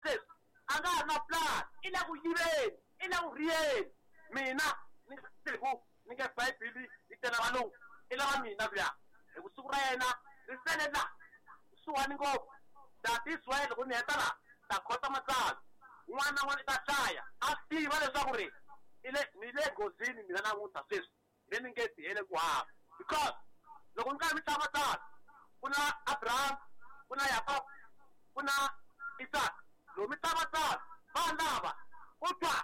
Sweswi a nga ha ri na plan, i le ku yiveni, i le ku rhiyeni. Mina ni nga tiku ni nge Bibele yi tele valungu, i lava mina luya, hi ku siku ra yena ri sele la kusuhani ngopfu. That is why loko ni heta la ni ta khota matsalwa, un'wana na un'wana i ta hlaya a swi tiva leswaku ri i le ni le nghozini mina namuntlha sweswi. Le ni nge tihele ku hava. Because loko ni karhi ni hlaya matsalwa, ku na Abraham, ku na Yakobo, ku na Isaka. Loko mi hlaya matsalwa, vanhu lava ku twa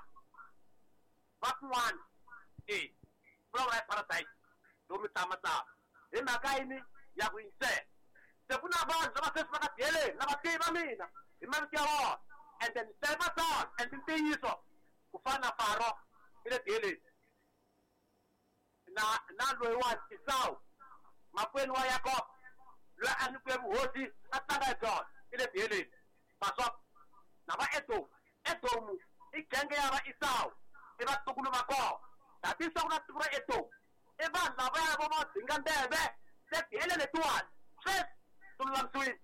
va kun'wana e vulavula hi paradise loko mi hlaya matsalwa. Hi mhaka yini? Ya ku yingisela. Se ku na vanhu lava sweswi va nga tiheleni, na va tiva mina hi mavito ya vona, and then ni hlaye matsalwa and i ntiyiso ku fana na Faro i le tiheleni. Na, na loyiwani Esawu, makwenu wa Yakobo, loyi a nyikiwe vuhosi a tlanga hi byona, i le tiheleni. Pasop, na va Edomu. Edomu i genge ya va Esawu, i vatukulu va kona. Tatisa ku na tiko ra Edomu, i vanhu lavaya vo madingandleve, se tihele letiwani sweswi ti lulamisiwile.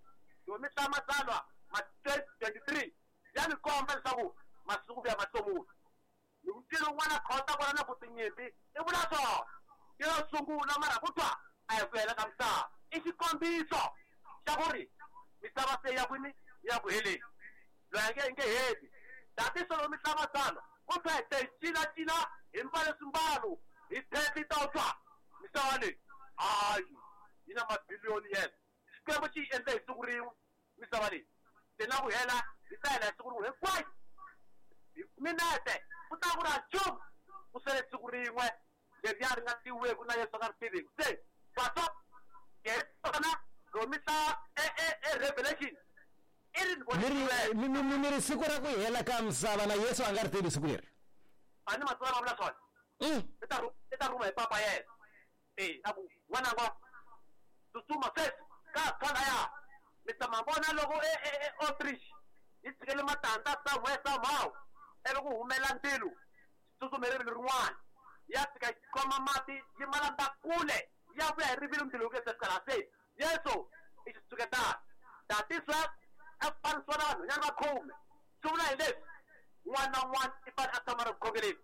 Loko mi hlaya Matsalwa ma 2023 ya mi komba leswaku masiku ya mahlomulo. Loko ncila un'wana a khota kwala na ku tinyimpi, i vula swona. I yo sungula, mara ku twa a hi ku hela ka misava. I xikombiso xa ku ri misava se yi ya kwini? Yi ya ku heleni. Loyi a nge yi nge heli. Tatiso loko mi hlaya Matsalwa, ku twa hi te hi cina-cina, hi mbale swimbalo, hi phefita u twa misava leyi hayi yi na mabiliyoni years. Xikwembu xi yi endle hi siku rin'we misava leyi, se na ku hela yi ta hela hi siku rin'we hinkwayo. Hi minete ku ta ku ri ha nchumu, ku sele siku rin'we leriya ri nga tiviweki na Yesu a nga ri tiviki. Se pastor tona loko mi hlaya e, e, e Revelation i ri ni Mi ri, mi, mi, mi ri siku ra ku hela ka misava na Yesu a nga ri tivi siku leri. A ni matsalwa ma vula swona. I ta i ta rhuma hi papa yena. E, a ku, N'wananga, tsutsuma sweswi, ka ha tshwa laya. Mi ta ma vona loko e, e, e ostrich yi tshikele matandza somewhere, somehow, ivi ku humela ndzilo, xi tsutsuma hi rivilo rin'wana, yi ya fika yi khoma mati, yi ma landza kule, yi ya vuya hi rivilo ndzilo wu nge se fika laha. Se Yesu i xitshuketana. Tatiswa a fanisiwa na vanhwanyana va khume. Swi vula hi leswi, un'wana na un'wana i fanele a tshama a ri ku khongeleni.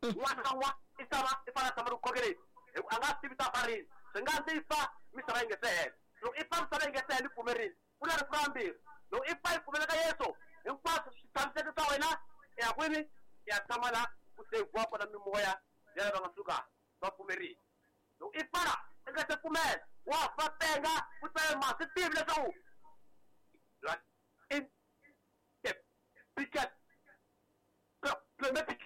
Un'wana na un'wana i tshama i fanele a tshama ri ku khongeleni, hi ku a nga swi tivi ta fa rini. Swi nga ndzi fa misava yi nge se hela. Loko i fa misava yi nge se hela i pfumerile, ku na rifu ra vumbirhi. Loko i fa i pfumela ka Yesu, hinkwaswo swi tshamiseke swa wena, i ya kwini? I ya tshama la ku seyivhiwa kona mimoya ya lava nga suka va pfumerile. Loko i fa i nga se pfumela, wa fa tenga u tsale ma swi tivi leswaku in the biggest problematic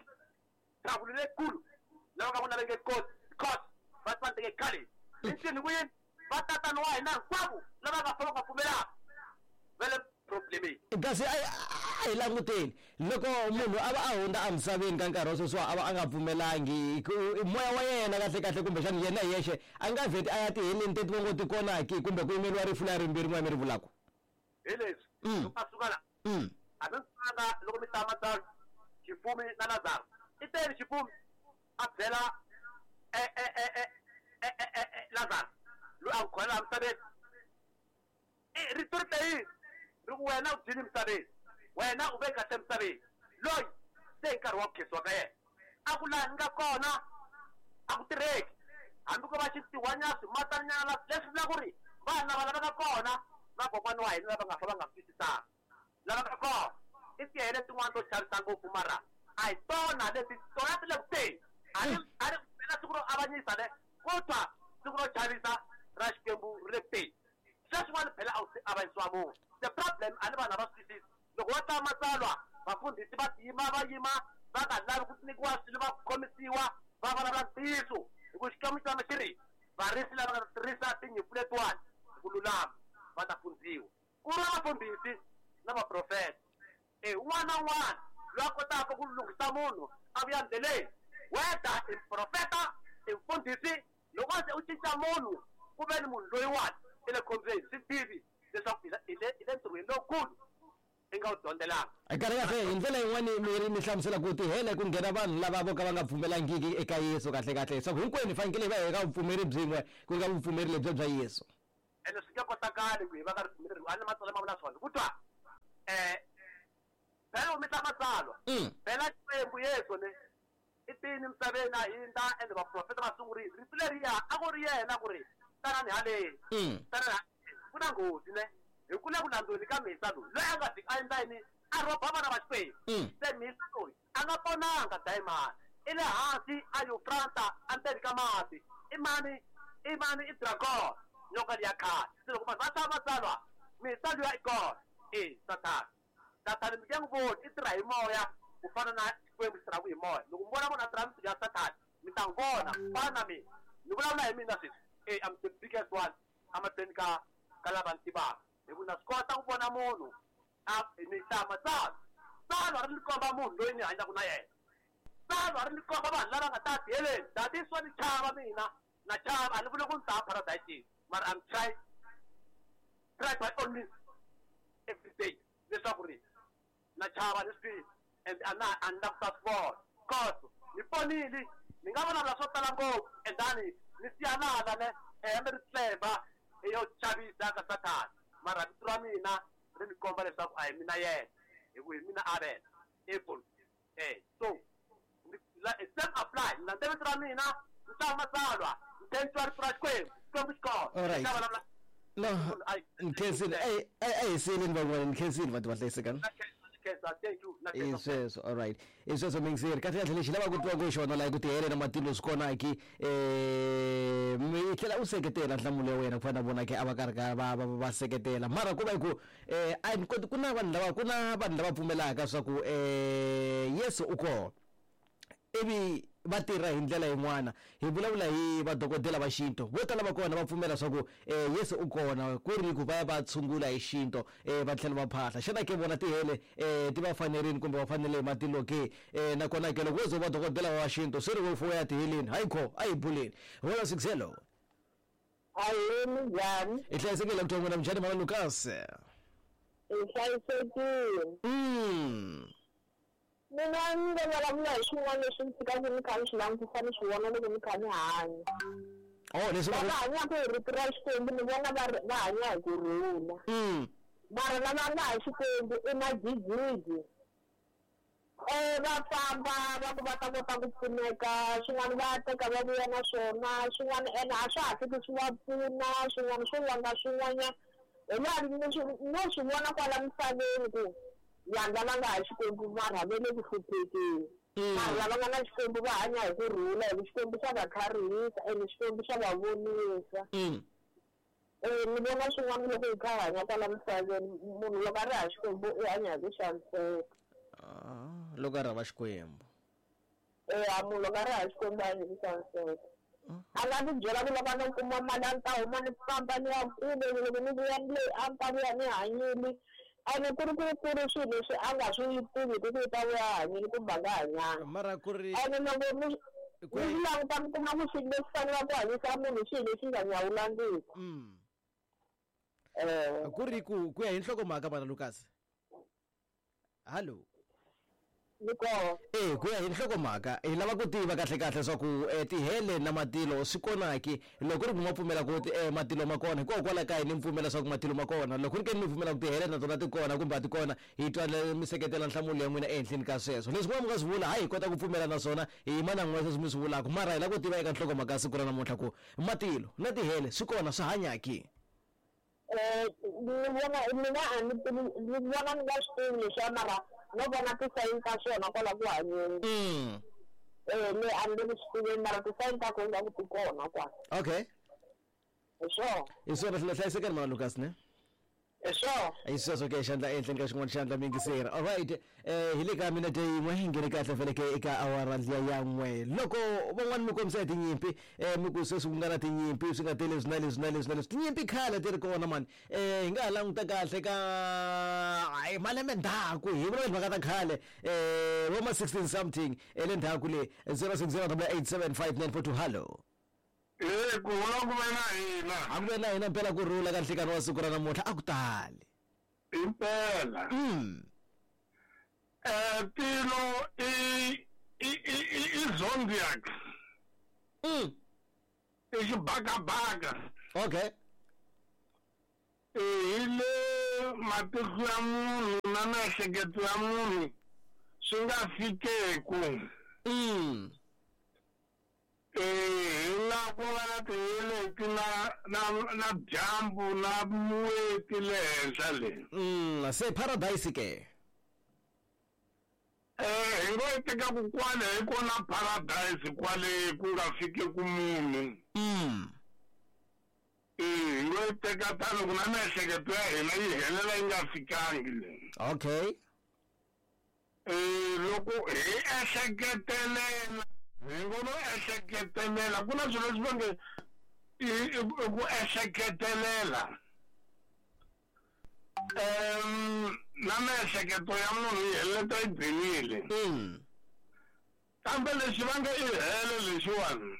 trouble leyikulu lava ka vona va nge koti because va tsandzeke khale hi ncini ku yini va tatana wa hina hinkwavo lava nga fa va nga pfumelaka va le problemeni. Kasi a a hi languteni loko munhu a va a hundza emisaveni ka nkarhi wa sweswiwa a va a nga pfumelangi ku moya wa yena kahle kahle kumbexana yena hi yexe a nga vheti a ya tiheleni teti va ngo ti kona ki kumbe ku yimeriwa rifu leri rimbirhi n'we mi ri vulaka. Hi leswi loko a suka la a mi swi loko mi hlaya matsalwa xifumi na Lazaro i teni xifumi a byela e, e, e, e, e, e, e, e, Lazaro loyi a n'wi khona laha misaveni rito ri te yini ri ku wena u dyini misaveni wena u ve kahle misaveni loyi se hi nkarhi wa ku khensiwa ka yena a ku laha ni nga kona a ku tirheki hambi ko va xintiwanyana swimatanyana leswi vula ku ri vanhu lava lavaka kona vakokwani wa hina lava nga fa va nga swi twisisanga lava nga kona i tihele tin'wana to chavisa ngopfu mara a hi tona leti tona ti le ku teni a ri a ri phela siku ro avanyisa ne ku twa siku ro chavisa ra Xikwembu ri le ku teni sweswiwani phela a wu se avanyisiwa munhu the problem a ni vanhu a va swi twisisi Loko va hlaya Matsalwa, vafundhisi va tiyima va yima va nga lavi ku nyikiwa swilo va khomisiwa va vulavula ntiyiso, hi ku Xikwembu xi tshama xi ri, Varisi lava nga ta tirhisa tinyimpfu letiwani hi ku lulama va ta fundziwa. Ku vuriwa vafundhisi na vaprofeta. E, un'wana na un'wana loyi a kotaka ku lunghisa munhu a vuya ndleleni, whether i muprofeta, i mufundhisi, loko se u cinca munhu ku ve ni munhu loyiwani i le khombyeni, swi tivi leswaku i le i le i le ntirhweni lowukulu i nga wu dyondzelanga. Kahle kahle hi ndlela yin'wani mi ri mi hlamusela ku tihele ku nghena vanhu lava vo ka va nga pfumelangiki eka Yesu kahle kahle leswaku hinkwenu hi fanekele hi va hi ka vupfumeri byin'we ku nga vupfumeri lebyiya bya Yesu. Ene swi nge kotakali ku hi va ka ripfumelo rin'we, a ni matsalwa ma vula swona. Ku twa? Phela mi ta matsalwa. Phela Xikwembu Yesu ne i tini misaveni a hindza ende vaprofeta va sungurile. Rito leriya a ku ri yena ku ri tanani haleni. Tanani haleni. Ku na nghozi ne. Hi ku le ku landzweni ka mhisa loyi. Loyi a nga fiki a endla yini? A rhoba vana va Xikwembu. Se mhisa loyi a nga ponanga dayimani. I le hansi a Yufrata a ndzeni ka mati. I mani? I mani? I dragon. Nyoka liya khale. Se loko vanhu va hlaya matsalwa, mhisa luya i kona. E Sathana. Sathana mi nge n'wi voni, i tirha hi moya ku fana na Xikwembu xi tirhaka hi moya. Loko mi vona munhu a tirha mintirho ya Sathana, mi ta n'wi vona. Fana na mina. Ni vulavula hi mina sweswi. E I'm the biggest one emahlweni ka ka lava ni tivaka. Hi ku na swi kota ku vona munhu a ni hlaya matsalwa. Tsalwa ri ni komba munhu loyi ni hanyaka na yena. Tsalwa ri ni komba vanhu lava nga ta tiheleni. That is why ni chava mina. Na chava, a ni vuli ku ni ta paradise, mara I'm try try by all means every day leswaku ri na chava ni swi and a na a ni la ku ta swi vona. Cause ni ponile, ni nga vulavula swo tala ngopfu and then ni siya nala ne hembe ri clever yo chavisa ka Sathana, mara vito ra mina ri ni komba leswaku a hi mina yena, hi ku hi mina Abel Apple. So same apply, ni landze vito ra mina, ni hlaya matsalwa, ni tlhela ni twa rito ra Xikwembu, Xikwembu xi kona. All right. Ni ta vulavula No, ni khensile. A hi siyeleni van'wana, ni khensile va ti va hlayisekani. Thank you. I sweswo, all right. I sweswo mingiseri. Kahle kahle lexi lavaka ku twa ku xona laha ku tihele na matilo swi kona ki mi tlhela u seketela nhlamulo ya wena ku fana na vona ke a va karhi ka va va va seketela. Mara ku va hi ku a ni koti ku na vanhu lava ku na vanhu lava pfumelaka swa ku Yesu u kona. Ivi va tirha hi ndlela yin'wana. Hi vulavula hi vadokodela va xintu. Vo tala va kona va pfumela swa ku Yesu u kona, ku ri ku va ya va tshungula hi xintu va tlhela va phahla. Xana ke vona tihele ti va fanerile kumbe va fanele hi matilo ke? Nakona ke loko wo ze u va dokodela wa xintu swi ri wo fuwa ya tiheleni? Hayi kho, a hi buleni. Vona Sixelo. Ahee, minjhani? Hi hlayisekile ku n'wina minjhani mhana Lucas? Hi hlayisekile. Mina ni nga vulavula hi swin'wana leswi ni tshikaka ni kha ni swi langutisa ni swi vona loko ni kha ni hanya. Oh, leswi Lava hanyaka hi rito ra Xikwembu ni vona va va hanya hi ku rhula. Mara lava nga ha Xikwembu i magigigi. Va famba va ku va ta kota ku pfuneka, swin'wana va teka va vuya na swona, swin'wana ene a swa ha fiki swi va pfuna, swin'wana swo vanga swin'wanyana. Hi laha ni swi no swi vona kwala misaveni ku vanhu lava nga ha Xikwembu mara va le ku hluphekeni. Mara lava nga na Xikwembu va hanya hi ku rhula hi ku Xikwembu xa va tlharihisa ene Xikwembu xa va vonisa. Ni vona swin'wana loko hi kha hi hanya kwala misaveni, munhu loko a ri ha Xikwembu i hanya hi ku xaniseka. Loko a ri hava Xikwembu. Munhu loko a ri ha Xikwembu a hanya hi ku xaniseka. A nga ti byela ku loko a no kuma mali a ni ta huma ni famba ni ya kule, loko ni vuya ni le a ni ta vuya ni hanyile. Ene ku ri ku ku ri swilo leswi a nga swi tivi ku ku ta vuya a hanyile kumbe a nga hanyanga. Mara ku ri Ene loko ni ni languta mi kuma ku xilo lexi fanelaka ku hanyisa munhu xilo lexi nga nyawulangiki. Ku ri ku ku ya hi nhlokomhaka mana Lucas. Hallo. Ni kona. E ku ya hi nhlokomhaka hi lava ku tiva kahle kahle swa ku tihele na matilo swi kona ki. Loko ku ri ku ma pfumela ku matilo ma kona, hikokwalaho ka yini mi pfumela swa ku matilo ma kona? Loko ku ri ke ni mi pfumela ku tihele na tona ti kona kumbe a ti kona, hi twa mi seketela nhlamulo ya n'wina ehenhleni ka sweswo. Leswi n'wana mi nga swi vula, hayi hi kota ku pfumela na swona, hi yima na n'wina sweswi mi swi vulaka, mara hi lava ku tiva eka nhlokomhaka ya siku ra namuntlha ku matilo na tihele swi kona swi hanya ki? Ni vona mina a ni tivi ni vona ni nga swi tivi leswiya mara no vona tisayini ta swona kwala ku hanyeni. Le a ni le ku swi tiveni mara tisayini ta kona ingaku ti kona kwala. Okay. Hi swona. Hi swona hlayisekani mana Lucas ne? Hi swona. Hi sweswo ke xandla ehenhleni ka xin'wana xandla mi yingiseri. All right. Hi le ka minete yin'we hi nghene kahle vhele ke eka awara liya ya n'we. Loko van'wana mi kombisa hi tinyimpi mi ku sweswi ku nga na tinyimpi swi nga tele leswi na leswi na leswi na leswi. Tinyimpi khale ti ri kona mani. Hi nga ha languta kahle ka hayi malembe ndzhaku hi vulavula timhaka ta khale vo ma 16 something le ndzhaku le 0608875942 hallo. Ku rhula ku ve na hina. A ku ve na hina mpela ku rhula ka nhlikani wa siku ra namuntlha a ku tali. Impela. Tilo i i i i zodiac. I xibakabaka. Okay. Hi le matihlo ya munhu na miehleketo ya munhu swi nga fikeku. Hi la ku nga na tinyeleti na dyambu na n'weti le henhla le. Se paradise ke? Hi ngo yi teka ku kwale hi kona paradise kwale ku nga fikeku munhu. Hi ngo yi teka tano ku na miehleketo ya hina yi helela yi nga fikangi le. Okay. Loko hi ehleketelela, hi ngo no ehleketelela, ku na swilo leswi va nge i ku ehleketelela. Na miehleketo ya munhu yi heleleta yi gcinile. Kambe lexi va nge i hele lexiwani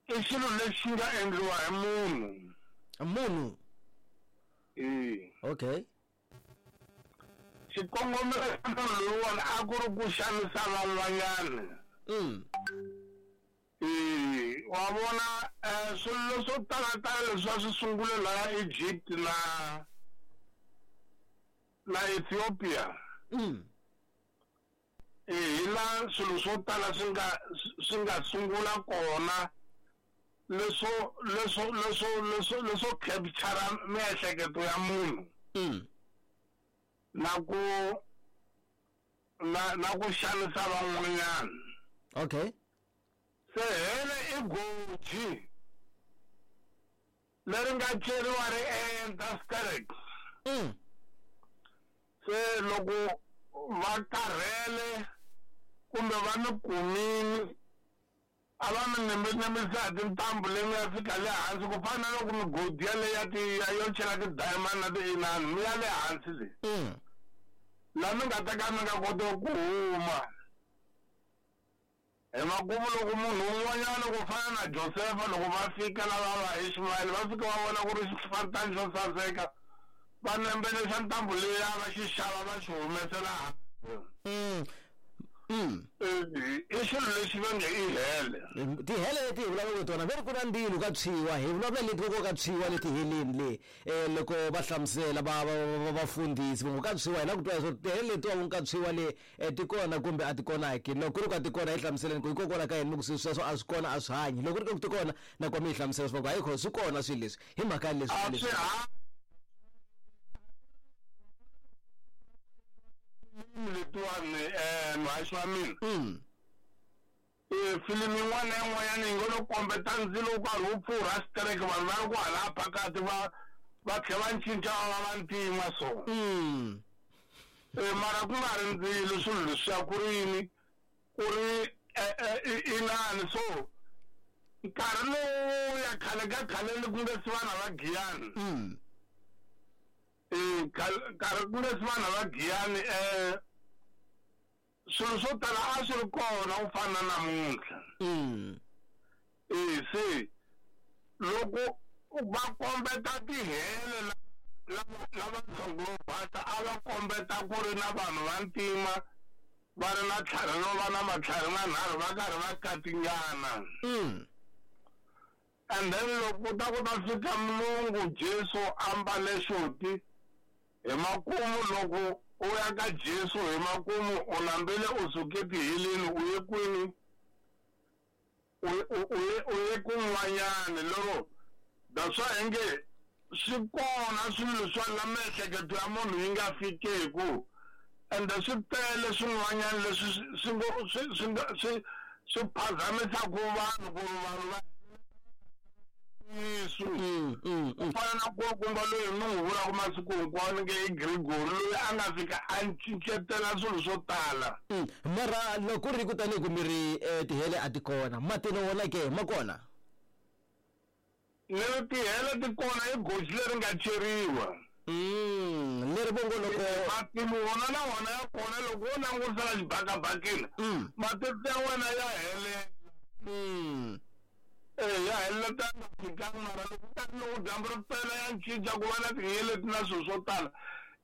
i xilo lexi nga endliwa hi munhu. Munhu? Okay. Xikongomelo xa munhu loyiwani a ku ri ku xanisa van'wanyana. Wa vona swilo swo talatala leswi a swi sungule laha Egypt na Ethiopia. Hi la swilo swo tala swi nga sungula kona leswo capture miehleketo ya munhu. Na ku xanisa van'wanyana. Okay. Se hele i goji leri nga ceriwa ri enta sterek. Se loko va karhele kumbe va mi kumini a va mi nembenemisa hi tintambu leyi mi ya fika le hansi ku fana na loko migodi yaleyi ya yo chela ti-diamond na ti-inani mi ya le hansi le. La mi nga ta ka mi nga koti ku huma. Hi makumu loko munhu un'wanyana ku fana na Josefa loko va fika lava va Ishmael va fika va vona ku ri xifantani xo saseka va nembelesa ntambu leyi va xi xava va xi humesela hansi. I xilo lexi va nge i hele. Tihele leti hi vulavulaka tona ve ri ku na ndzilo ka tshwiwa, hi vulavula leti loko ka tshwiwa leti heleni le loko va hlamusela vafundhisi va ngo ka tshwiwa hi la ku twa leswaku tihele letiwa vo ka tshwiwa le ti kona kumbe a ti kona ke. Loko ku ri ka ti kona hi hlamuseleni ku hikokwalaho ka yini mi ku swilo sweswo a swi kona a swi hanyi. Loko ku ri ka ku ti kona na ku mi hi hlamusela leswaku hayi swi kona swilo leswi hi mhaka leswi. Letiwani muhaxi wa mina. Filimi yin'wana na yin'wanyana yi ngo lo kombeta ndzilo wu karhi wu pfurha xitereke vanhu va ri ku hala phakati va tlhela va cinca va va vantima so. Mara ku nga ri ndzilo swilo leswiya ku ri yini ku ri inani so nkarhi lowu ya khale ka khale ku nge si vana va Giyani. Nkarhi ku nge si vana va Giyani swilo swo tala a swi ri kona ku fana na namuntlha. Se loko va kombeta tihele lava ntshungu wo basa a va kombeta ku ri na vanhu va ntima va ri na tlhari no va na matlhari manharhu va karhi va katingana. And then loko ta ku ta fika mulungu Jesu a mbale xoti hi makumu loko u ya ka Jesu hi makumu u nambile u suke tiheleni u ye kwini u ye kun'wanyani lero that's why hi nge swi kona swilo swa la miehleketo ya munhu yi nga fikeku ende swi tele swin'wanyana leswi swi phazamisaka vanhu ku ri vanhu va Yesu. Ku fana na nkulukumba loyi mi n'wi vulaka masiku hinkwawo ni nge i Gregory loyi a nga fika a cincetela swilo swo tala. Mara loko ku ri ku tanihi ku mi ri tihele a ti kona, matino wona ke ma kona? Ni ri tihele ti kona i goji leri nga ceriwa. Leri vongo loko matino wona na wona ya kona loko wo langutisela xibakabakeni matihlo ya wena ya helela. Ya heleta nga fikanga mara loko ka loko dyambu ri pela ya cinca ku va na tinyeleti na swilo swo tala.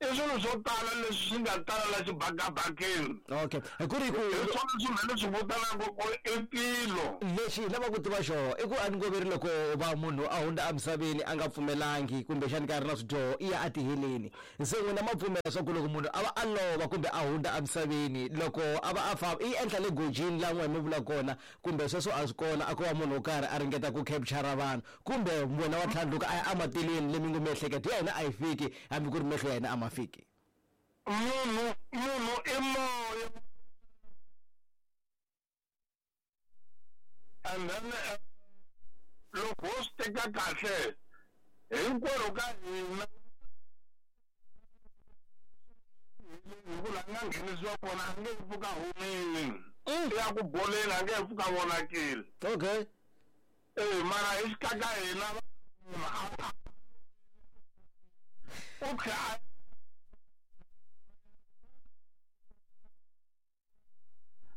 I swilo swo tala leswi swi nga tala la xibakabakeni. Okay, ku ri ku hi swona swilo leswi vitanaka ku i tilo. Lexi hi lavaka ku tiva xona i ku a ni ngo ve ri loko va munhu a hundza emisaveni a nga pfumelangi kumbexani ka ri na swidyoho i ya etiheleni. Se n'wina ma pfumela swa ku loko munhu a va a lova kumbe a hundza emisaveni loko a va a famba i endla le gojini laha n'we mi vula kona kumbe sweswo a swi kona a ko va munhu wo karhi a ringeta ku capture vanhu kumbe wena wa tlhandluka a ya ematilweni leyi mi ngo miehleketo ya hina a yi fiki hambi ku ri mehlo ya hina a ma fiki. Munhu munhu i moya and then loko ho swi teka kahle hinkwerhu ka hina hi ku laha nga nghenisiwa kona a nge pfuka humile i ya ku boleni a nge pfuka vonakile. Okay. E mara hi xikaka hina u tlhela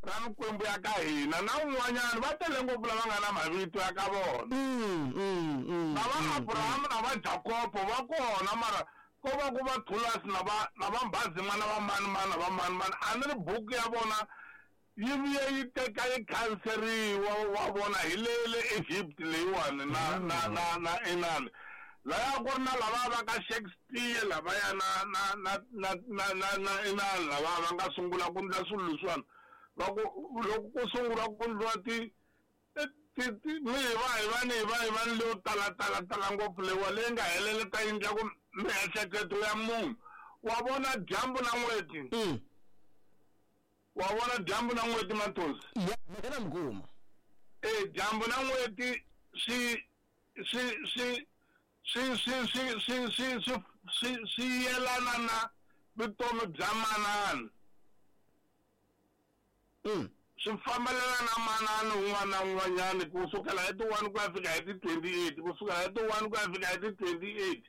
ra mikwembu ya ka hina na un'wanyana va tele ngopfu lava nga na mavito ya ka vona. Na va Abrahamu na va Jakobo va kona mara ko va ku va Thulasi na va na va Mbhazima na va mani mani na va mani mani a ni ri buku ya vona yi vuye yi teka yi khanseriwa wa vona hi le le Egypt leyiwani na na na na inani laya ku ri na lava va ka Shakespeare lavaya na na na na na na na inani lava va nga sungula ku ndla swilo leswiwani va ku loko ku sungula ku ndliwa ti ti mi hi va hi va ni hi va hi va ni leyo tala tala tala ngopfu leyiwa leyi nga heleleta yi ndla ku miehleketo ya munhu wa vona dyambu na n'weti. Wa vona dyambu na n'weti Matosi? Ya, mhaka na mi kuma. E dyambu na n'weti swi swi swi swi swi swi swi swi swi swi swi yelana na vutomi bya manana. Swi fambelana na manana un'wana na un'wanyana ku sukela hi ti 1 ku ya fika hi ti 28, ku sukela hi ti 1 ku ya fika hi ti 28.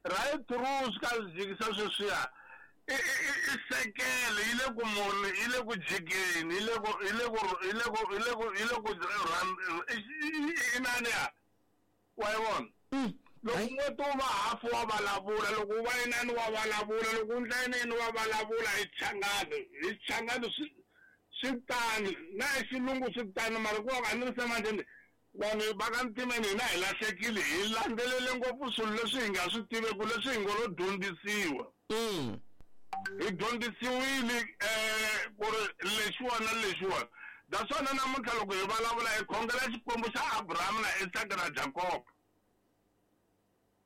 Right through swi ka swi jikisa sweswiya. I sekele yi le ku muni yi le ku jikeni yi le ku yi le ku yi le ku yi le ku yi le ku inani ya wa yi vona. Loko n'weti wu va hafu wa vulavula, loko wu va inani wa vulavula, loko wu ndla yini wa vulavula hi Xichangani hi Xichangani swi swi tani na hi xilungu swi tani mara ku va a ni ri se manjhe vanhu va ka ntimeni hina hi lahlekile hi landzelele ngopfu swilo leswi hi nga swi tiveku leswi hi ngo lo dyondzisiwa. Hi dyondzisiwile ku ri lexiwani na lexiwani. Naswona namuntlha loko hi vulavula hi khongela Xikwembu xa Abraham na Isaka na Jakobo.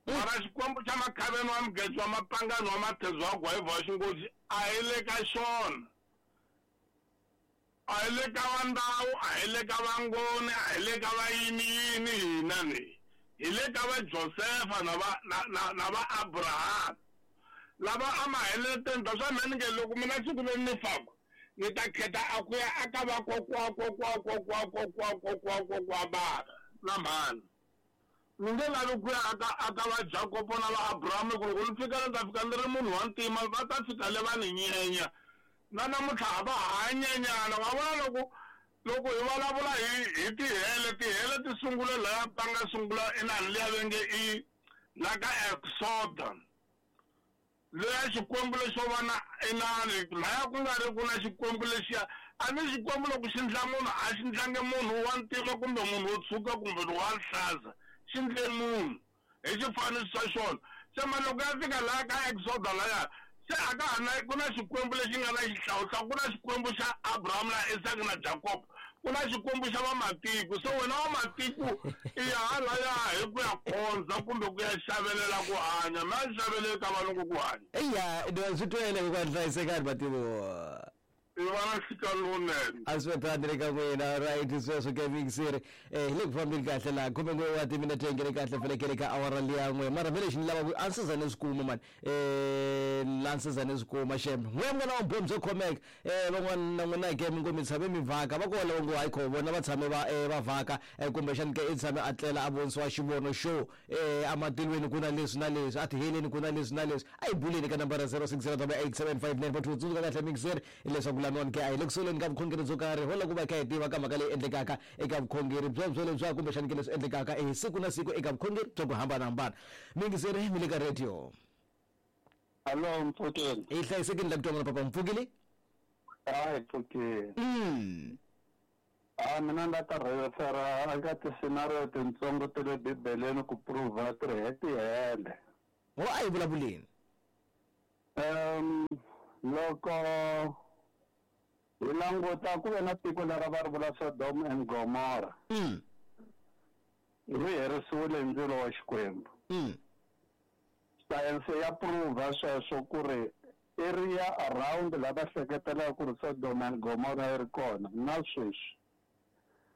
Mara Xikwembu xa Makhaveni wa Mugezi wa Mapangani wa Mathezu wa Gwayivha wa Xingozi a hi le ka xona. A hi le ka va Ndau, a hi le ka va Ngoni, a hi le ka va yini yini hina ni. Hi le ka va Josefa na va na na na va Abraham. Lava a ma heleteni ta swa mina ni nge loko mina siku leri ni faka ni ta khetha a ku ya aka va kokwa kokwa kokwa kokwa kokwa kokwa bava na mhani. Ni nge lavi ku ya aka aka va Jakobo na va Abraham ku loko ni fika ni ta fika ni ri munhu wa ntima va ta fika le va ni nyenya. Na namuntlha a va hanyanyana wa vona loko loko hi vulavula hi hi tihele tihele ti sungule laya va nga sungula inani liya va nge i la ka Exoda. Leya Xikwembu lexo va na inani laya ku nga ri ku na Xikwembu lexiya a ni Xikwembu loko xi ndla munhu a xi ndlangi munhu wa ntima kumbe munhu wo tshuka kumbe wa rihlaza xi ndle munhu hi xifaniso xa xona. Se mara loko ya fika laya ka Exoda laya se a ka ha na ku na Xikwembu lexi nga na xihlawuhlawu ku na Xikwembu xa Abraham na Isaka na Jakobo ku na Xikwembu xa vamatiko. Se wena wa matiko i ya halaya hi ku ya khonza kumbe ku ya xavelela ku hanya mi a xaveleli ka valungu ku hanya. Eya swi twele ku hlayisekani mativo. I va na nhlekani lowunene. A swi tani le ka n'wina right sweswo ke mixer hi le ku fambeni kahle laha 11 wa timinete yi ngene kahle fanekele ka awara liya n'we mara vhele lexi ni lava ku a ni se za ni swi kuma mani la ni se za ni swi kuma xem n'we n'wana wa mbhoni byo khomeka van'wana na n'wina ke mi ngo mi tshame mi vhaka va kona lava ngo hayi kho vona va tshame va va vhaka kumbexani ke i tshame a tlela a vonisiwa xivono xo ematilweni ku na leswi na leswi a tiheleni ku na leswi na leswi a hi buleni ka nambara 0608875942 tsundzuka kahle mixer leswaku laniwani ke a hi le kusoleni ka vukhongeri byo karhi ho lava ku va hi kha hi tiva ka mhaka leyi endlekaka eka vukhongeri byebyo lebya kumbexani ke leswi endlekaka hi siku na siku eka vukhongeri bya ku hambanahambana. Mixer mi le ka radio. Hallo mpfukeni. Hi hlayisekile la ku twa n'wina papa mpfukile? Hayi mpfukeni. Mm. A mina ni ta refera eka ti-scenario tintsongo ta le Bibeleni ku prova ti ri tihele. Ho a hi vulavuleni. Loko hi languta ku ve na tiko leri va ri vula Sodom and Gomora. Ri herisiwile hi ndzilo wa Xikwembu. Sayense ya prova sweswo ku ri area around la va hleketelaka ku ri Sodom and Gomora yi ri kona na sweswi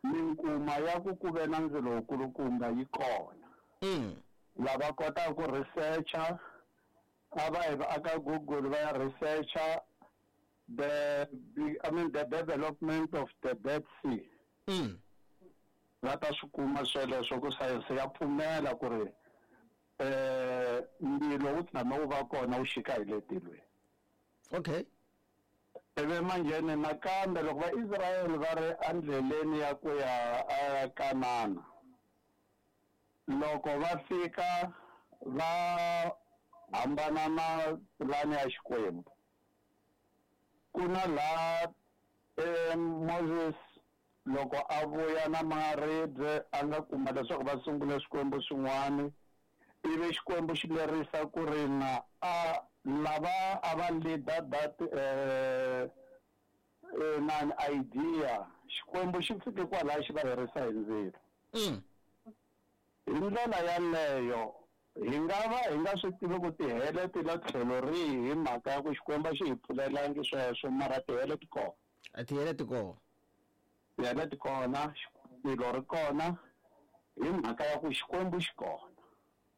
minkuma ya ku ku ve na ndzilo wukulukumba yi kona. Lava kotaka ku researcha a va yi aka Google va ya researcha the I mean the development of the Dead Sea. Va ta swi kuma sweleswo ku sayense ya pfumela ku ri ndzilo wu tshame wu va kona wu xika hi le tilweni. Okay. Ivi manjheni nakambe loko va Israyele va ri endleleni ya ku ya eKanana, loko va fika va hambana na pulani ya Xikwembu, ku na laha Moses loko a vuya na maribye a nga kuma leswaku va sungule swikwembu swin'wana, ivi Xikwembu xi lerisa ku ri na a lava a va leader that na idea, Xikwembu xi fike kwalaya xi va herisa hi ndzilo. Hi ndlela yaleyo hi nga va hi nga swi tivi ku tihele ti la tlhelo rihi hi mhaka ya ku Xikwembu xi hi pfulelangi sweswo, mara tihele ti kona. A tihele ti kona. Tihele ti kona, ndzilo ri kona hi mhaka ya ku Xikwembu xi kona.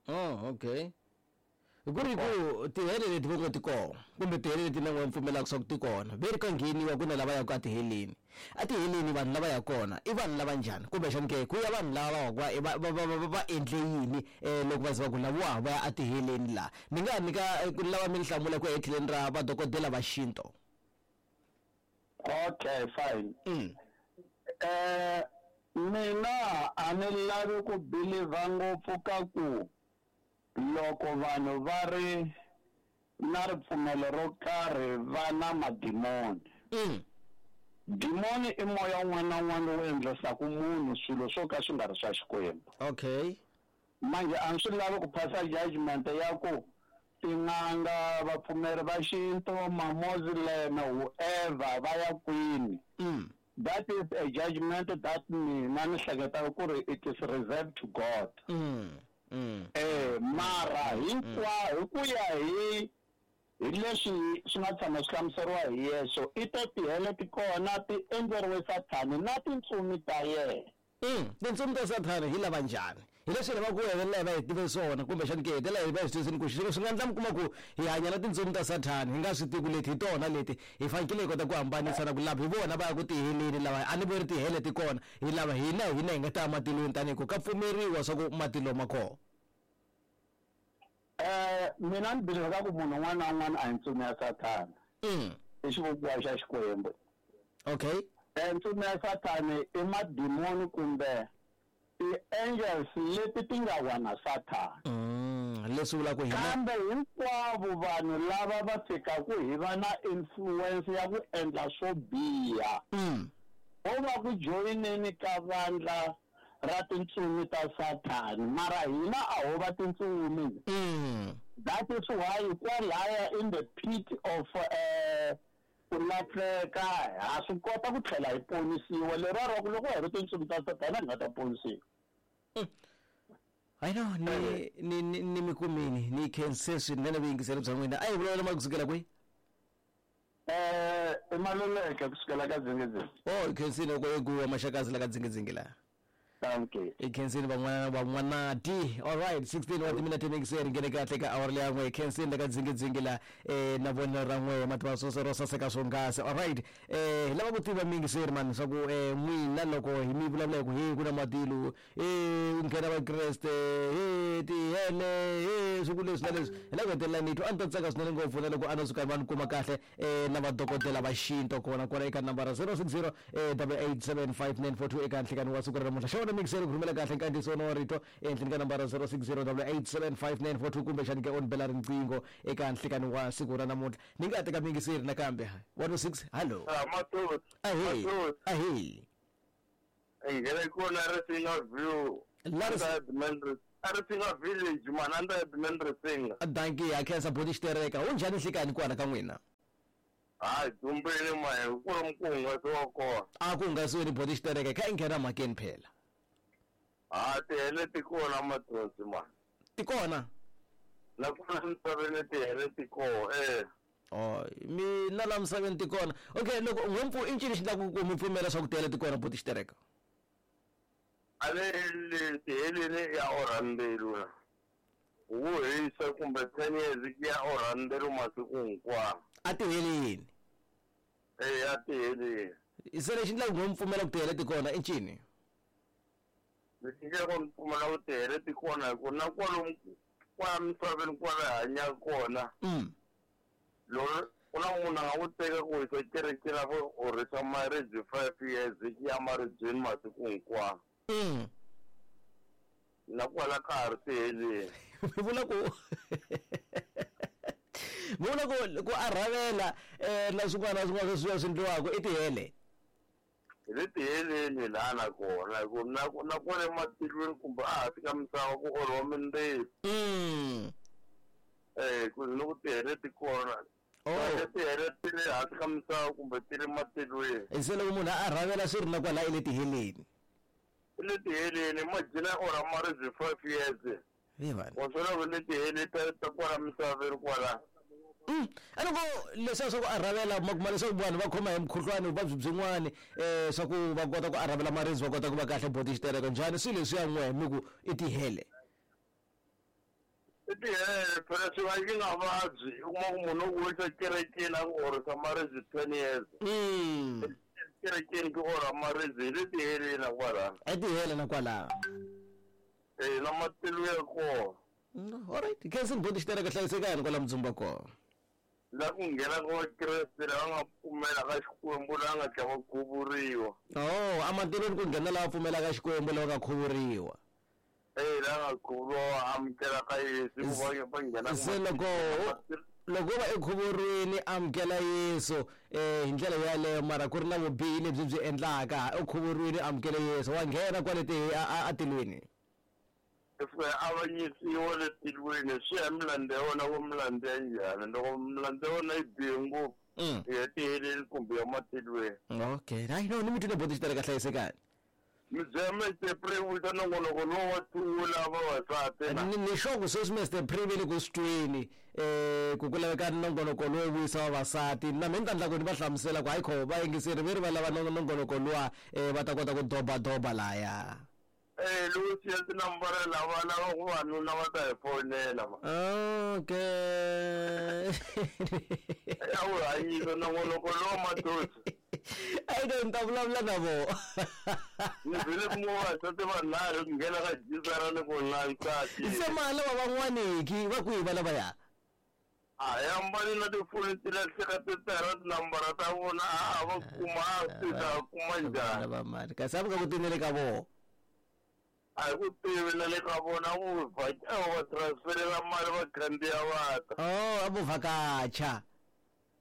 Oh, okay. Ku ri ku tihele leti vo ngo ti kona kumbe tihele leti na n'we pfumelaka swa ku ti kona, ve ri ka ngheniwa ku na lava yaka etiheleni. Etiheleni vanhu lava ya kona i vanhu lava njhani? Kumbexani ke ku ya vanhu lava va va va va va endle yini loko va za va ku lavawa va ya etiheleni laha? Ni nga nyika ku lava mi ni hlamula ku ya etlheleni ra vadokodela va xinto. Okay, fine. Mina a ni lavi ku believe ngopfu ka ku loko vanhu va ri na ripfumelo ro karhi va na madimoni. Dimoni i moya wun'wana na wun'wana lowu endlisaka munhu swilo swo ka swi nga ri swa Xikwembu. Okay. Manje a swi lavi ku phasa judgment ya ku tin'anga, vapfumeri va xinto, ma-Muslim, whoever va ya kwini. That is a judgment that mina ni hleketaka ku ri it is reserved to God. Mara hinkwa hi ku ya hi leswi swi nga tshama swi hlamuseriwa hi Yesu, i ta tihele ti kona ti endleriwe Sathani na tintsumi ta yena. Tintsumi ta Sathani hi lava njhani? Hi leswi lava ku hetelela hi va hi tive swona, kumbexani ke hetelela hi va hi swi twisini ku swilo swi nga endla mi kuma ku hi hanya na tintsumi ta Sathani hi nga swi tivi ku leti hi tona leti hi fanekele hi kota ku hambanisa na ku lava hi vona va ya ku tiheleni lava a ni voni tihele ti kona hi lava hina hina hi nga ta ya matilweni tanihi ku ka pfumeriwa swa ku matilo ma kona. Mina ni believe ka ku munhu un'wana na un'wana a hi ntsumi ya Sathana. I xivumbiwa xa Xikwembu. Okay. Ntsumi ya Sathana i madimoni kumbe ti-angels leti ti nga wa na Sathana. Leswi vulaka hina kambe hinkwavo vanhu lava va fikaka hi va na influence ya ku endla swo biha. Ho va ku joyineni ka vandla ra tintsumi ta Sathana, mara hina a ho va tintsumi. That is why kwalaya in the pit of ku lahleka ha swi kota ku tlhela hi ponisiwa, lero ra ku loko hi ri tintsumi ta Sathana hi nga ta ponisiwa. I know ni ni ni mi kumini ni khense swinene vuyingiseri bya n'wina. A hi vulavula ma kusukela kwihi? I Maluleke kusukela ka Dzingidzingi. Oh, hi khensile loko hi guwa Maxakazi la ka Dzingidzingi laha. Thank you. Hi khensile van'wana van'wanati. All right, 16 wa timinete mixer nghene kahle ka awara leya n'we. Hi khensile la ka Dzingidzingi la na vonelo ra n'we mativa swo ro saseka swonghasi. All right, hi lava ku tiva miyingiseri mani swa ku n'wina loko hi mi vulavula hi ku he ku na matilo, u nghena Vakreste, he tihele, he swi ku leswi na leswi, hi la ku hetelela ni twa a ni ta tsaka swinene ngopfu na loko a no suka va ni kuma kahle na vadokodela va xinto kona kwala eka nambara 060 887 5942 eka nhlekani wa siku ra namuntlha. Xewani. mixer ku rhumela kahle nkandziyiso wa rito ehenhleni ka nambara 0608875942 kumbexani ke on bela riqingho eka nhlikani wa siku ra namuntlha. Ni nga teka miyingiseri nakambe. 106, hallo. Ahee. Ahee. Nghena kona Risinga View. Risinga Village, man, under Edmund Risinga. Dankie, ha khensa boti xitereka. U njhani nhlikani kwala ka n'wina? Hayi, dumbeni mahe, ku ri ku hungasiwa kona. A ku hungasiweni boti xitereka, kha i nghena mhakeni phela. Ha, tihele ti kona mathonsi man. Ti kona? Na kona misaveni tihele ti kona, eh. Oh, mina la misaveni ti kona. Okay, loko n'wempfu i ncini xi endlaku ku mi pfumela swa ku tihele ti kona boti xitereka? A le tiheleni ya orha mbilu na. Wu hisa kumbe 10 years ya orha mbilu masiku hinkwawo. A tiheleni? Eh, a tiheleni. Se lexi endlaku ku mi pfumela ku tihele ti kona i ncini? Lexi endlaku ni pfumela ku tihele ti kona hi ku na kwalomu kwala misaveni kwala hi hanyaka kona. Loko ku na munhu a nga ku teka ku hisa kerekeni a ku orhisa maribye 5 years ya maribyeni masiku hinkwawo. Na kwala ka ha ri tiheleni. Mi vula ku mi vula ku a rhavela na swin'wana na swin'wana sweswiya swi endliwaka i tihele? Hi le tiheleni laha na kona hi ku na kwale ematilweni kumbe a hansi ka misava ku orhiwa mindzilo. Eh, ku ni ku tihele ti kona. Oh. Tihele ti le hansi ka misava kumbe ti le matilweni. Se loko munhu a rhavela swi ri na kwala i le tiheleni? I le tiheleni, imagine a orha maribye 5 years. Wa swi vona ku le tiheleni ta kwala misaveni kwala. A ni ku leswiya swa ku arhavela ma kuma leswaku vanhu va khoma hi mukhuhlwani vuvabyi byin'wani swa ku va kota ku arhavela maribye va kota ku va kahle boti xitereko njhani swilo leswiya n'we mi ku i tihele? I tihele phela swi va yi nga vabyi u kuma ku munhu u ku wisa kerekeni a ku orhisa maribye 10 years. Kerekeni ku orha maribye hi le tiheleni na kwalano. I tihele na kwalano. Eh, na matilu ya kona. Alright, khensi ni boti xitereka hlayisekani kwala Mudzumba kona. La ku nghena ka Vakreste lava nga pfumela ka Xikwembu lava nga tlhela va khuvuriwa. Oh, amatilweni ku nghena lava pfumelaka Xikwembu lava nga khuvuriwa. Eh, lava nga khuvuriwa amukela ka Yesu ku va nghena. Se loko va ekhuvuriweni amukela Yesu hi ndlela yaleyo mara ku ri na vubihi lebyi byi endlaka u khuvuriwile amukele Yesu wa nghena kwale atilweni. Avanyisiwa le tilweni swi ya milandzu ya wena ku milandzu ya njhani loko milandzu ya wena yi bihe ngopfu ya tiheleni kumbe ya matilweni. Okay, hayi no ni mi twile boti xitereka hlayisekani. Mi byela Mr Pre vuyisa nongonoko lowu wa tiwula vavasati. Ni sure ku sweswi Mr Pre ve le ku swi tweni ku laveka nongonoko lowo vuyisa vavasati na mina ni ta endla ku ni va hlamusela ku hayi kho va yingiseri ve ri va lava nongonoko luwa va ta kota ku dobadoba laya. Eh, lowu siya tinambara lava lava ku vanuna va ta hi fonela ma. Okay. A wu hanyisa nongonoko lowu madosi. A yi ni ta vulavula na vona. Ni vile ku vavasati vanharhu ku nghena ka jisara ni ku na nsati. Se mali lava van'waniki va kwihi va lavaya? A ya mbali na tifoni ti lahleka ti tala tinambara ta vona a va kuma a swi ta kuma njhani. Lava mali kasi a va nga ku tinele ka vona. A hi ku tivi na le ka vona vo va transferela mali va khandziya va ta. Oh, a vo vhakacha.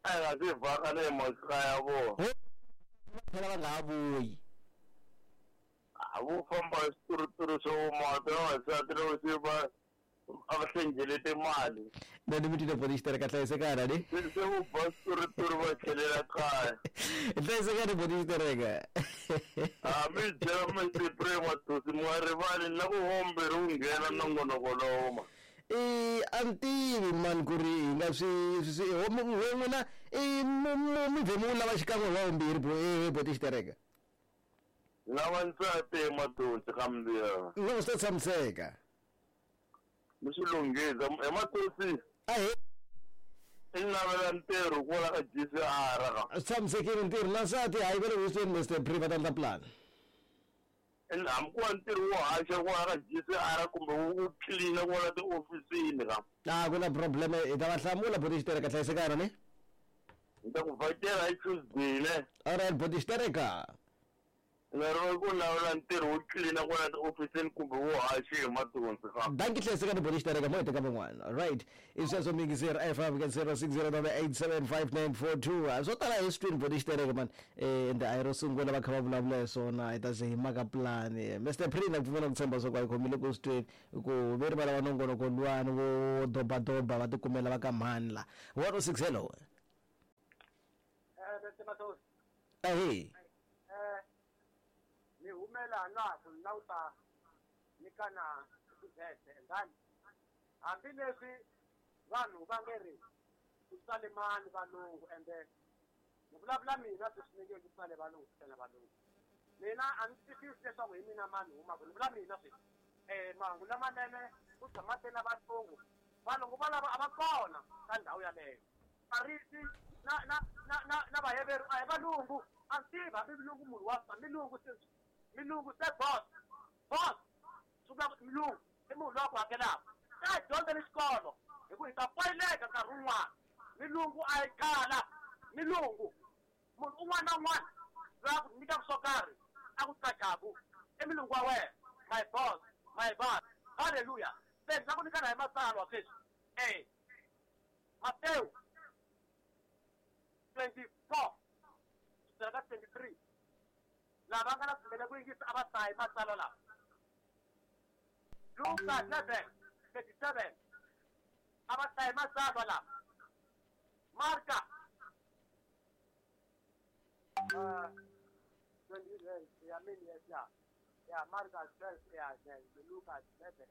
A hi nga se vhaka na hi makaya vona. Phela va nga ha vuyi. A vo famba hi swituruturu swo vumata vavasati loko se va a va hlengelete mali. Na ni mi twile boti xitereka hlayisekani ni? Se vo ba swituruturu va tlhelela kaya. Hlayisekani boti xitereka. A mi byela Mr Pre Matosi mi nga rivali na ku vombirhi wu nghena nongonoko lowu ma. A ni tivi mani ku ri hi nga swi n'wina mi vhe mi wu lava xikan'we hi wa vumbirhi boti xitereka. Lava nsati Matosi ka mbirhi. No swi ta tshamiseka. Mi swi lunghisa hi Matosi. Ahee. I navela ntirho kwala ka GCR ka. Swi tshamisekile ntirho na nsati hayi va le Houston Mr Pre va ta endla plan. Hambi ku va ntirho wo haxa kwala ka GCR kumbe wu clean kwala tiofisini ka. A ku na problem hi ta va hlamula boti xitereka hlayisekana ni? Ni ta ku vhakela hi Tuesday ne. Alright boti xitereka. Nga ri ku lawula ntirho wo tlilina kwala tiofisini kumbe wo haxa hi mathonsi ka. Dankie hleseka ni boli xitereka mo heta ka van'wana. Right. I sweswo miyingiseri a hi fambi ka 0608875942. Swo tala hi swi twini boli xitereka man. Ende a hi ro sungula va kha va vulavula hi swona hi ta ze hi maka plan. Mr Prina ku pfumela ku tshemba swa ku a hi khomile ku swi tweni ku ve ri va lava nongonoko luwani wo dobadoba va tikumela va ka mhani la. 106 hello. Ahee. Ni humela na ku na u ta nyikana tivhese endani hambileswi vanhu va nge ri ku tsale mani valungu ende ni vulavula mina sweswi ni nge ku tsale valungu ku tsale valungu mina a ni twisisi leswaku hi mina mani humaka ni vula mina sweswi mahungu lamanene ku tshama te na valungu valungu valavo a va kona ka ndhawu yaleyo Farisi na na na na na Vaheveru a hi valungu a ni tivi hambi milungu munhu wa milungu se milungu se boss boss swi vula ku milungu i munhu loyi a ku hakelaka se a hi dyondzeni xikolo hi ku hi ta poyileka nkarhi wun'wana milungu a yi khala milungu munhu un'wana na un'wana loyi a ku nyikaka swo karhi a ku qachaku i milungu wa wena my boss my boss halleluya se ni la ku nyikana hi matsalwa sweswi e Matewu 24 kusukela ka 23 lava nga na pfumela ku yingisa a va hlayi matsalwa lawa Luka 11 37 a va hlayi matsalwa lawa Marka 20 ya mini yes ya ya Marka 12 ya Luka 11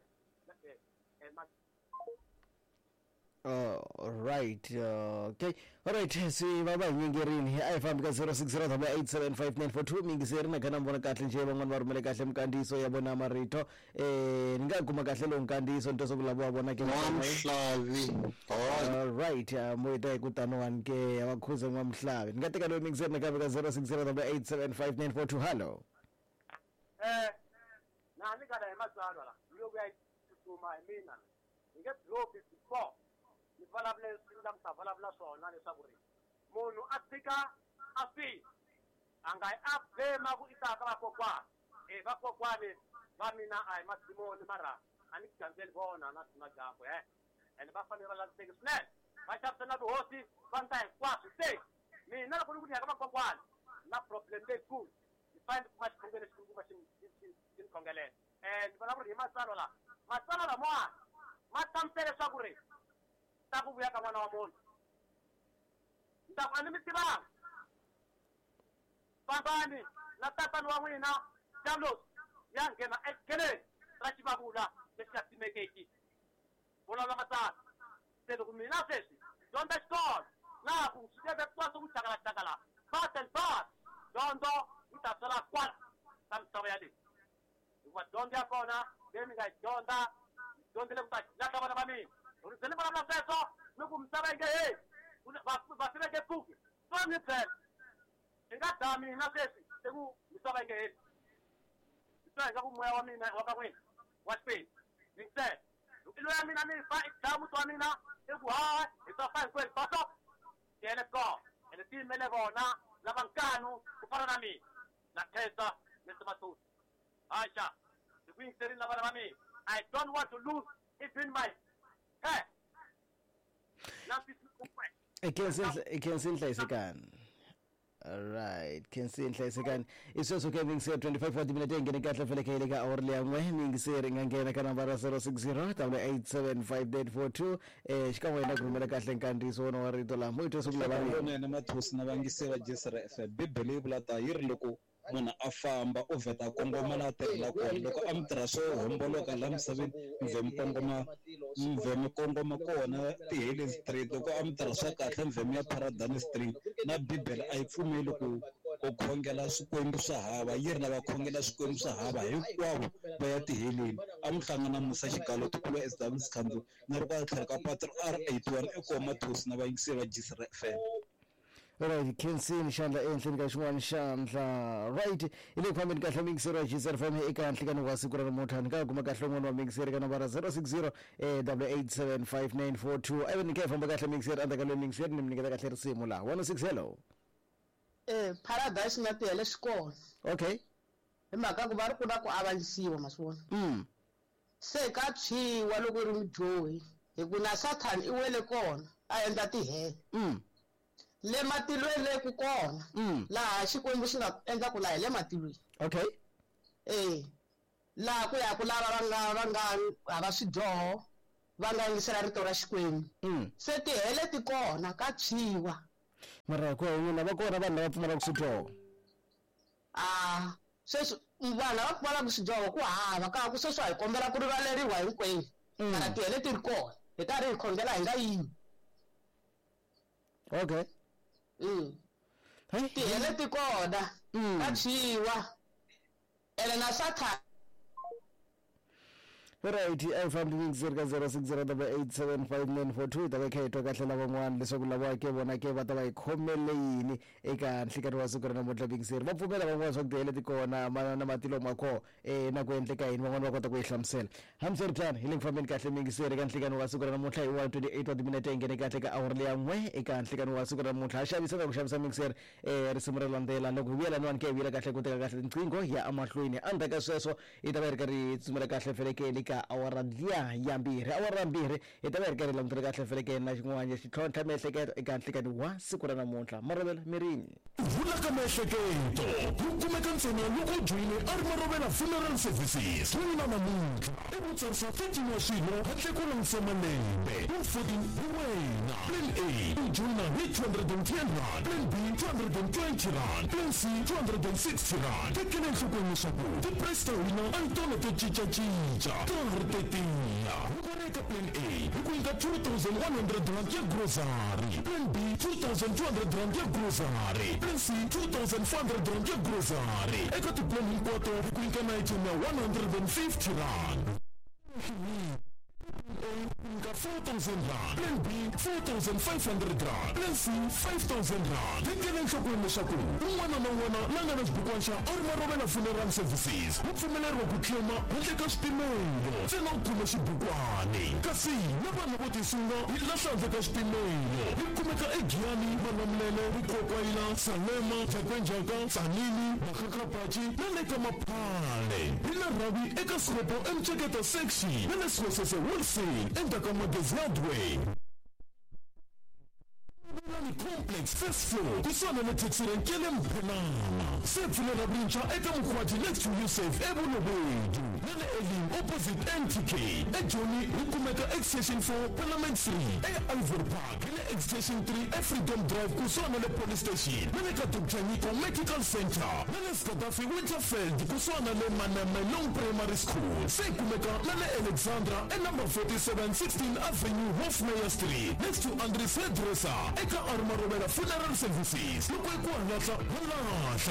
Right, okay, alright, swi va va hi nyingerini a hi fambi ka 0608875942 miyingiseri na khana mi vona kahle njhe van'wani va rhumele kahle minkandziyiso ya vona marito ni nga kuma kahle lowu nkandziyiso ni twa swa ku lava wa vona ke N'wamuhlavi alright mo ta hi ku taniwani ke ya va khuza n'wamuhlavi ni nga teka loyi miyingiseri nakambe ka 0608875942 hallo. Na ni kala hi matsalwa la loko ya tsutsuma hi mina hi nge dropi before ni vulavule leswi ni nga ta vulavula swona leswaku ri munhu a tshika a fi a nga yi a blame ku i ta ka vakokwani e vakokwani va mina a hi madimoni mara a ni gandzeli vona na na dyambu he ene va fanele va landziseki swinene va xavisa na tihosi va ndla hinkwaswo se mina loko ni ku ni ya ka vakokwani na problem leyikulu ni fanele ni kuma xikhongelo lexikulukumba xi xi xi ni khongelela ni vona ku ri hi matsalwa lawa matsalwa lamawani ma hlamusela leswaku ri ta ku vuya ka n'wana wa munhu ni ta ku a ni mi tivanga fambani na tatani wa n'wina Diablos ya nghena ekeleni ra xivavula lexi nga timekeki vulavula matsalwa se loko mina sweswi dyondza xikolo laha ku swi teve kwaswo ku chakalaxakala but and but dyondzo yi ta swela kwala ka misava ya leyi hikuva dyondzo ya kona leyi mi nga yi dyondza mi dyondzile ku ta lahla vana va mina loko ni ze ni vulavula sweswo ni ku misava yi nge heli vafi va nge pfuki swa ni byela i nga dlaya mina sweswi i ku misava yi nge heli ni twa ingaku moya wa mina wa ka n'wina wa Xikwembu yingisela loko i loya mina ni fa i dlaya muti wa mina i ku ha hi ta fa hinkwenu baso tiyele kona ene ti yimele vona lava nkanu ku fana na mina na khensa Mr Mathuthu haxa hi ku yingiserini na vana va mina I don't want to lose even my hair na Khensi Nhlayisekani. Alright, Khensi Nhlayisekani. I sweswo ke miyingiseri 25 wa timinete yi nghene kahle fele ka ka awara leya n'we miyingiseri nga nghena ka nambara 060 875 xikan'we na ku rhumela kahle nkandziyiso wona wa rito laha mo yi twa swa ku lava Lonene Mathosi na vayingiseri va Jesera FM. Bibele yi vula ta yi ri loko munhu a famba u vheta a kongoma laha a tirhela kona loko a mi tirha swo homboloka laha misaveni mi vhe mi kongoma mi vhe mi kongoma kona tiheleni straight loko a mi tirha swa kahle mi vhe mi ya paradani straight na bibele a yi pfumeli ku ku khongela swikwembu swa hava yi ri lava khongela swikwembu swa hava hinkwavo va ya tiheleni a mi hlangana Musa Xigalo tikulu SW Sikhandzo na ri kwala tlhelo ka patu R81 eKoma Thosi na vayingiseri va Jisra FM. Right, khensini xandla ehenhleni ka xin'wana xandla. Right, hi le ku fambeni kahle miyingiseri wa GCR FM eka nhlikani wa siku ra namuntlha. Ni nga kuma kahle un'wana wa miyingiseri ka nambara 060 8875942. Ivi ni kha hi famba kahle miyingiseri endzhaku ka loyi miyingiseri ni mi nyiketa kahle risimu laha. 106 hello. Paradise na tihele swi kona. Okay. Hi mhaka ku va ri ku na ku avanyisiwa ma swi vona. Se ka tshwiwa loko ri mudyohi hi ku na Sathana i wele kona a endla tihele. Le matilweni le ku kona laha Xikwembu xi nga endla ku laha hi le matilweni. Okay. Laha ku ya ku lava va nga hava swidyoho va nga yingisela rito ra Xikwembu. Se tihele ti kona ka tshwiwa. Mara ku n'wina va kona vanhu lava pfumalaka swidyoho? Sweswi vanhu lava pfumalaka swidyoho ku hava ka ku sweswi hi kombela ku rivaleriwa hinkwenu. Mara tihele ti ri kona hi karhi hi khongela hi nga yimi. Okay. Tihele ti kona ka tshwiwa ene na Sathana. Right, I fambi mingiseri ka 0608875942 ta va kha hi twa kahle lavan'wana leswaku lava ke vona ke va ta va hi khomele yini eka nhlikani wa siku ra namuntlha mingiseri. Va pfumela van'wana swa ku tihele ti kona na matilo ma kona na ku endleka yini, van'wana va kota ku yi hlamusela. Hambiswiritano hi le ku fambeni kahle mingiseri eka nhlikani wa siku ra namuntlha hi 1:28 wa timinete hi nghene kahle ka awara leya n'we eka nhlikani wa siku ra namuntlha. Ha xavisa na ku xavisa mingiseri risimu ra landzela loko hi vuya laniwani ke hi vuyela kahle ku teka kahle tinqingho ya emahlweni. Endzhaku ka sweswo hi ta va hi ri karhi hi tsutsumela kahle felekeni ka awara liya ya mbirhi. Awara ya mbirhi hi ta va hi ri karhi hi langutela kahle felekeni na xin'wana xitlhontlha miehleketo eka nhlikani wa siku ra namuntlha. Marovela mirini. Vula ka miehleketo ku kumeka ntsena loko u joyine a ri Marovela Funeral Services. N'wina namuntlha i ku tsarisa 13 wa swilo handle ko langutisa malembe. 114 hi wena. Plan A u joyina hi 210 rand, Plan B 220 rand, Plan C 260 rand. Tekela enhlokweni leswaku ti-price ta hina a hi tona to cincacinca, ta ha ri tetiya. Loko ri eka Plan A hi ku nyika 2100 rand ya grocery, Plan B 2200 rand ya grocery, Plan C 2400 rand ya grocery. Eka ti-plan hinkwato hi ku nyika na item ya 150 rand. Nyika 4000 rand, Plan B 4500 rand, Plan C 5000 rand. Tekela enhlokweni leswaku un'wana na un'wana la nga na xibukwana xa a ri Marovela Funeral Services u pfumeleriwa ku claima handle ka swipimelo ntsena u khome xibukwani. Kasi na vanhu vo tisunga hi lahla handle ka swipimelo hi kumeka eGiyani, Malamulele, Rikokwayila, Salema, Jakainjaka, Tsanini, Makgakgapachi na le ka Maphale. Hi na rhavi eka Sropo eMceketa section na le Swesese Wholesale endzhaku ka Magezi Hardware. Lani Complex first floor kusuhana na taxi rank ya le Mphenana. Se pfulela rintshwa eka Mukhwati next to Yusuf eBolobedu na le Elim opposite NTK. EJoni hi kumeka extension 4 Parliament 3 e Ivory Park hi le extension 3 eFreedom Drive kusuhana le police station na le ka Dr Nyiko Medical Center na le Skadafi Winterfeld kusuhana le Manamelong Primary School. Se kumeka na le Alexandra e number 47 16 Avenue Hofmeyr Street next to Andries Hairdresser eka Armarovela Funeral Services. Loko hi ku halahla halahla.